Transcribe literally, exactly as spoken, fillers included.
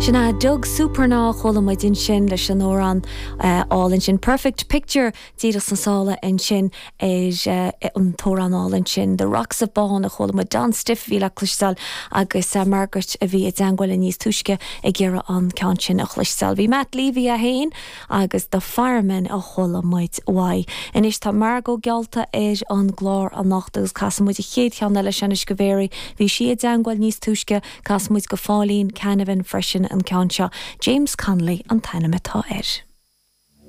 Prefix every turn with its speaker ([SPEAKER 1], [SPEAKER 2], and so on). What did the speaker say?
[SPEAKER 1] Sin é Doug Supernaw a chuala muid ansin leis an amhrán álainn sin Perfect Picture díreach sna sála ansin ar an t-amhrán álainn sin. The Rocks of Bawn a chuala muid Don Stiffe bhí le cloisteáil agus Margaret a bhí i dteagmháil níos túisce ag iarraidh an ceann sin a chloisteáil. Bhí Matt Levy a haon agus The Fireman a chuala muid uaidh. Anois tá Margot geallta ar an gclár anocht agus casfaidh muid an chéad cheann eile sin go Mary, bhí sí i dteagmháil níos túisce casfaidh muid go Phauline Canavan freisin an ceann seo. James Connolly an t-ainm atá air.